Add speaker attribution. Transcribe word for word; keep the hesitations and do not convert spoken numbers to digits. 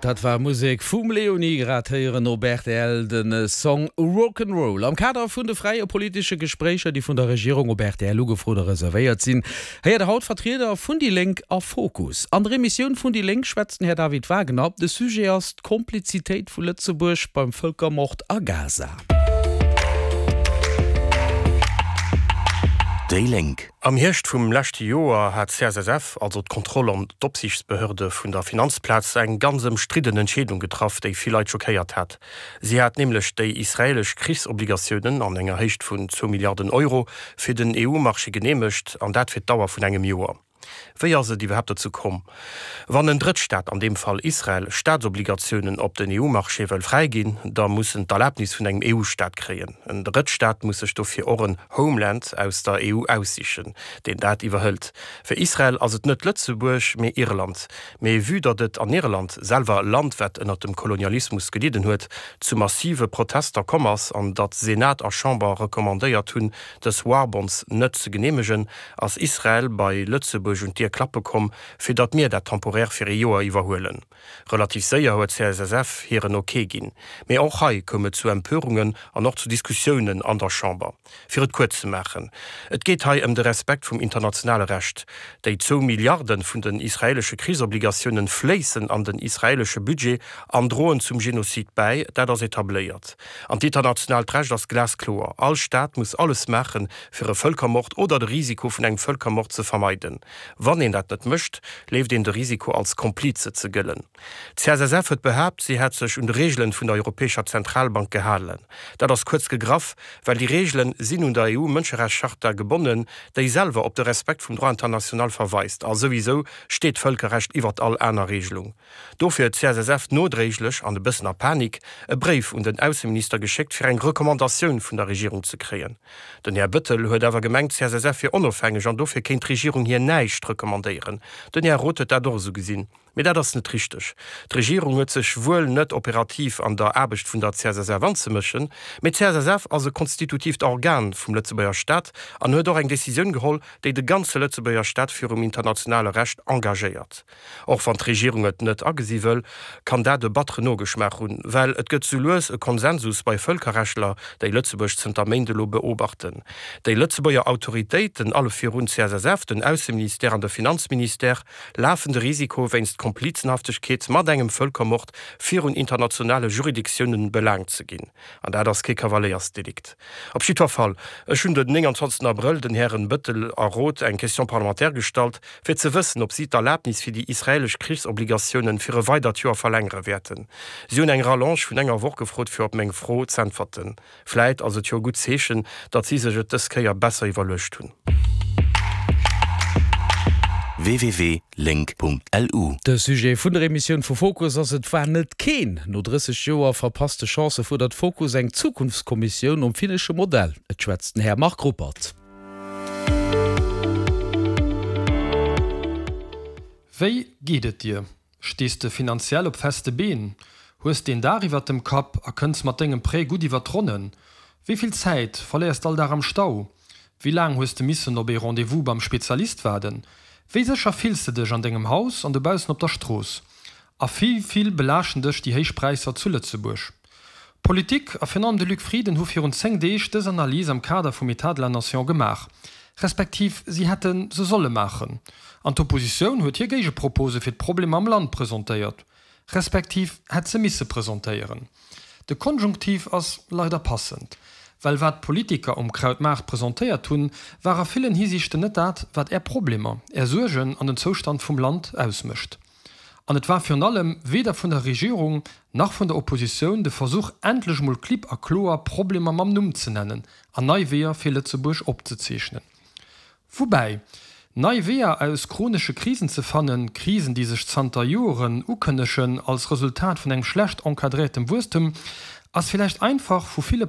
Speaker 1: Dat war Musek vum Leonie grad héieren op rtl den Song Rock'n'Roll. Am Kader vun de fräie politesche Gespréicher, déi vun der Regierung op rtl ugefrot a reservéiert sinn, héiert der haut Vertrieder vun déi Lénk a Fokus. An der Emissioun vun déi Lénk schwätzt den Här David Wagner. De Sujet ass d'Komplizitéit vu Lëtzebuerg beim Vëlkermord a Gaza.
Speaker 2: Déi Lénk.
Speaker 3: Am Hierscht vum leschte Joer hat d'CSSF, also d'Kontroll an d'Opsiichtsbehörde vun der Finanzplaz, eng ganz ëmstridden Entscheedung getraff, déi vill Leit schockéiert hat. Si hat nämlech déi israeelesch Krichsobligatiounen an enger Héicht vun zwou Milliarden Euro fir den EU-Marché geneemegt, an dat fir d'Dauer vun engem Joer. Wéi ass et iwwerhaapt dozou komm? Wann en Drëttstaat, an deem Fall Israel, Staatsobligatiounen op den EU-Marché wëll fräiginn, da muss en d'Erlaabnis vun engem EU-Staat kréien. En Drëttstaat muss sech dofir och en Homeland aus der EU aussichen, deen dat iwwerhëlt. Fir Israel ass et net Lëtzebuerg, mee Irland. Mee vue datt et an Irland, selwer e Land wat ënnert dem Kolonialismus gelidden huet, zu massive Protester komm ass an datt Senat a Chamber recommandéiert hunn, dës Warbonds net ze geneemegen, ass Israel bei Lëtzebuerg un d'Dier klappe komm, fir datt mir dat temporär fir ee Joer iwwerhuelen. Relativ séier huet d'CSSF hiren Ok ginn. Mee och hei koum et zu Empörungen an och zu Diskussiounen an der Chamber. Fir et kuerz ze maachen, Et geet hei ëm de Respekt vum internationale Recht. Déi zwou Milliarde vun den israeelesche Krichsobligatiounen fléissen an den israeelesche Budget an droen zum Genozid bäi. Dat ass etabléiert. An d'internationaalt Recht ass glaskloer, All Staat muss alles maachen, fir e Vëlkermord oder de Risiko vun engem Vëlkermord ze vermeiden. Wann een dat net mécht, leeft een de Risiko als Komplize ze gëllen. D'CSSF huet behaapt, si hätt sech un de Reegelen vun der Europäescher Zentralbank gehalen. Dat ass kuerz gegraff, well déi Reegelen sinn un der EU-Mënscherechtscharta gebonnen, déi selwer op de Respekt vum Droit international verweist. A souwisou steet d'Vëlkerrecht iwwert all aner Reegelung. Dofir huet d'CSSF nodréiglech, an e bëssen a Panik, e Bréif un den Ausseminister geschéckt, fir eng Recommandatioun vun der Regierung ze kréien. Den Här Bettel huet awer gemengt, d'CSSF wier onofhängeg an dofir kéint d'Regierung hir näischt recommandéieren. Den Här Roth huet dat och esou gesinn. Mee dat ass net richteg. D'Regierung huet sech wuel net operativ an der Aarbecht vun der CSSF anzemëschen, mee d'CSSF ass e konstitutiivt Organ vum Lëtzebuerger Staat an huet och eng Decisioun geholl, déi de ganze Lëtzebuerger Staat virum internationale Recht engagéiert. Och wann d'Regierung et net agesi wëll, kann dat e batteren Nogeschmaach hunn, well et gëtt sou lues e Konsensus bei Vëlkerrechtler, déi Lëtzebuerg zënter Méint elo beobachten. Déi Lëtzebuerger Autoritéiten, alle virun d'CSSF, den Ausseministère an de Finanzministère, lafen de Risiko, wéinst Komplizenhaftegkeet mat engem Vëlkermord virun internationale Juridictiounen belaangt ze ginn. An dat ass kee Kavaléiersdelikt. Op jiddwer Fall, ech hunn den nénganzwanzegsten Abrëll den Hären Bettel a Roth eng Question parlementaire gestallt, fir ze wëssen, ob si d'Erlaabnis fir déi israelesch Krichsobligatiounen fir e weidert Joer verlängere wäerten. Si hunn eng Rallonge vun enger Woch gefrot, fir op meng Fro z'äntwerten. Vläit ass et jo e gutt Zeechen, datt si sech et dës Kéier besser iwwerluecht hunn.
Speaker 2: www.link.lu.
Speaker 1: De Sujet vun der Emissioun vu Fokus ass Et war net keen. No drësseg Joer verpasste Chancë fuerdert Fokus eng Zukunftskommissioun nom finnesche Modell. Et schwätzt den Här Marc Ruppert.
Speaker 4: Wéi geet et dir? Stees de finanziell op feste Been? Hues de een Daach iwwert dem Kapp a kënns mat dengem Prêt gutt iwwert d'Ronnen? Wéi vill Zäit verléiers de all Dag am Stau? Wéi laang hues de missen op ee Rendez-vous beim Spezialist waarden? Wéi sécher fills de dech an dengem Haus an dobaussen op der Strooss? A wéi vill belaaschten dech déi héich Präisser zu Lëtzebuerg? D'Politik, a virun allem de Luc Frieden, hu virun zéng Deeg dës Analys am Kader vum État de la Nation gemaach, respektiv si hätte se solle maachen. An d'Oppositioun huet hir Géigepropose fir d'Problemer am Land presentéiert, respektiv hätt se misse presentéieren. De Konjunktiv ass leider passend, well wat d'Politiker um Krautmaart presentéiert hunn, war a villen Hisiichten net dat, wat Är Problemer, Är Suergen an den Zoustand vum Land ausmécht. An et war virun allem weder vun der Regierung nach vun der Oppositioun de Versuch, endlech mol klipp a kloer Problemer mam Numm ze nennen an nei Weeër fir Lëtzebuerg opzezeechnen. Woubäi, nei Weeër aus chronesche Krisen ze fannen, Krisen, déi sech zanter Joren ukënnegen als Resultat vun engem schlecht encadréiertem Wuesstem, ass villäicht einfach vu ville.